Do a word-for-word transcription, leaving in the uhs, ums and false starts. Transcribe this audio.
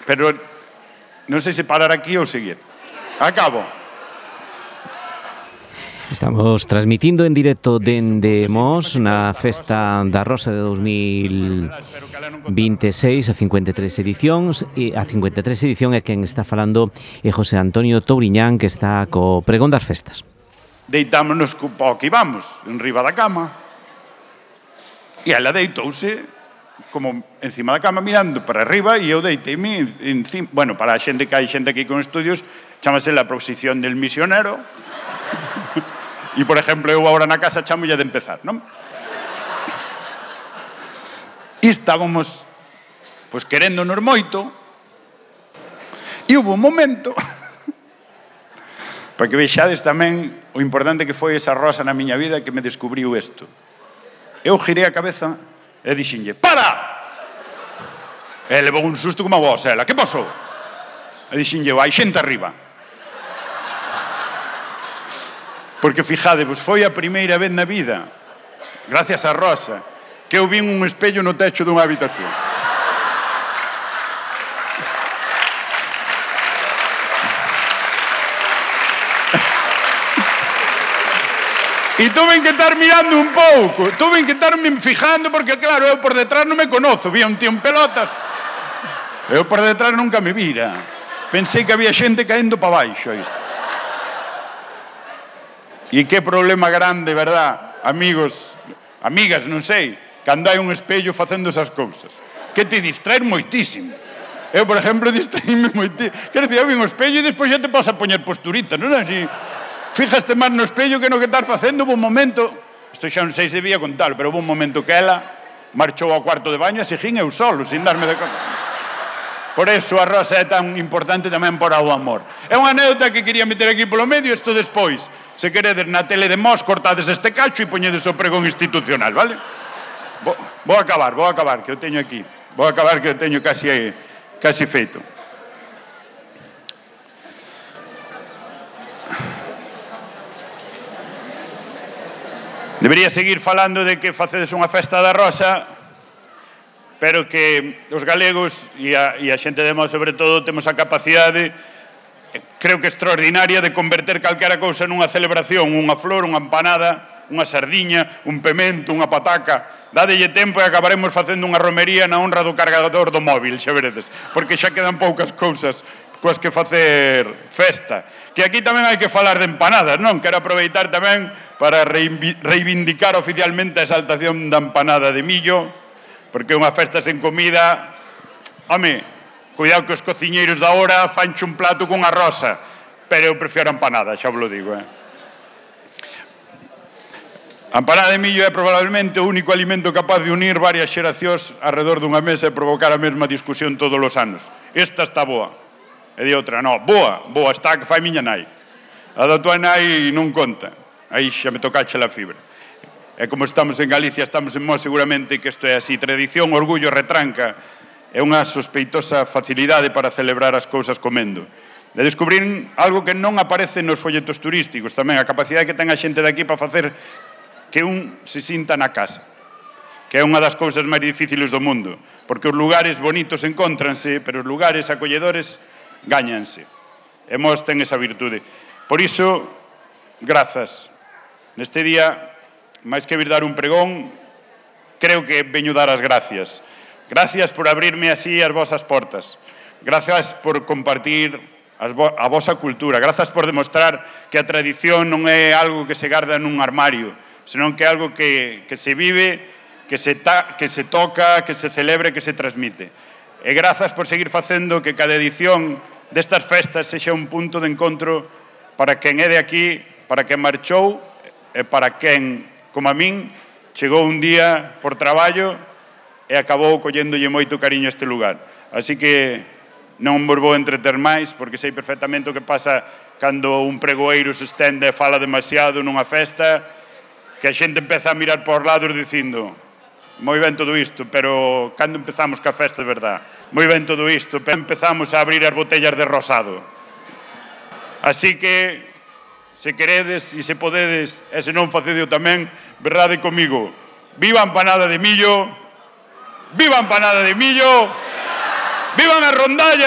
pero non sei se parar aquí ou seguir. Acabo. Estamos transmitindo en directo dende Mos na Festa da Rosa de dos mil vinte e seis, a cincuenta e tres edicións, e a cincuenta e tres edición é quen está falando é José Antonio Touriñán, que está co pregón das festas. Deitámonos co pó que íbamos, en riba da cama, e ela deitouse como encima da cama mirando para arriba e eu deiteime encima. Bueno, para a xente que hai xente aquí con estudios, chamase la posición del misionero. E, por exemplo, eu agora na casa chamolle de empezar, non? E estábamos, pois, queréndonos moito, e hubo un momento, para que vexades tamén o importante que foi esa Rosa na miña vida que me descubriu isto. Eu girei a cabeza e dixenlle, para! E levou un susto como a vos, ela, que pasou? E dixenlle, hai xente arriba. Porque, fijadevos, foi a primeira vez na vida, gracias a Rosa, que eu vin un espello no techo dunha habitación. E tuve que estar mirando un pouco, tuve que estar me fijando, porque, claro, eu por detrás non me conozo, vía un tío en pelotas. Eu por detrás nunca me vira. Pensei que había xente caendo para baixo, isto. E que problema grande, verdad, amigos, amigas, non sei, cando hai un espello facendo esas cousas. Que te distraes moitísimo. Eu, por exemplo, distraíme moitísimo. Quero dicir, eu vi un espello e despois xa te podes a poñer posturitas, non? Así, fíjaste máis no espello que no que estás facendo. Hubo un momento, isto xa non sei se debía contar, pero hubo un momento que ela marchou ao cuarto de baño e seguín eu solo, sin darme de conta. Por eso a Rosa é tan importante tamén por o amor. É unha anécdota que quería meter aquí polo medio, isto despois. Se queredes na tele de Mos, cortades este cacho e poñedes o pregón institucional, vale? Vou, vou acabar, vou acabar, que eu teño aquí. Vou acabar, que eu teño casi, casi feito. Debería seguir falando de que facedes unha festa da Rosa, pero que os galegos e a, e a xente de Mos, sobre todo, temos a capacidade, creo que extraordinaria, de converter calquera cousa nunha celebración, unha flor, unha empanada, unha sardiña, un pemento, unha pataca. Dádelle tempo e acabaremos facendo unha romería na honra do cargador do móvil, xa veredes, porque xa quedan poucas cousas coas que facer festa. Que aquí tamén hai que falar de empanadas, non? Quero aproveitar tamén para reivindicar oficialmente a exaltación da empanada de millo, porque unha festa sen comida, home, cuidado que os cociñeiros da hora fanche un plato cunha rosa, pero eu prefiero a empanada, xa vos lo digo, eh? A empanada de millo é probablemente o único alimento capaz de unir varias xeracións alrededor dunha mesa e provocar a mesma discusión todos os anos. Esta está boa. E de outra, no, boa, boa está que fai miña nai. A da tua nai non conta. Aí xa me tocache la fibra. E como estamos en Galicia, estamos en Mos, seguramente que isto é así. Tradición, orgullo, retranca. É unha sospeitosa facilidade para celebrar as cousas comendo. De descubrir algo que non aparece nos folletos turísticos tamén, a capacidade que ten a xente de aquí para facer que un se sinta na casa, que é unha das cousas máis difíciles do mundo, porque os lugares bonitos encóntranse, pero os lugares acolledores gáñanse. E Mos ten esa virtude. Por iso, grazas. Neste día, máis que vir dar un pregón, creo que veño dar as gracias. Gracias por abrirme así as vosas portas. Gracias por compartir a vosa cultura. Gracias por demostrar que a tradición non é algo que se garda nun armario, senón que é algo que, que se vive, que se, ta, que se toca, que se celebra, que se transmite. E grazas por seguir facendo que cada edición destas festas sexa un punto de encontro para quen é de aquí, para quen marchou e para quen, como a min, chegou un día por traballo e acabou colléndolle moito cariño a este lugar. Así que non vos vou entreter máis, porque sei perfectamente o que pasa cando un pregoeiro se estende e fala demasiado nunha festa, que a xente empeza a mirar por lados dicindo, moi ben todo isto, pero cando empezamos ca festa de verdad? Moi ben todo isto, pero empezamos a abrir as botellas de rosado. Así que, se queredes e se podedes, e se non facedeo tamén, verdade comigo. Viva a empanada de millo, viva a empanada de millo, vivan as rondallas.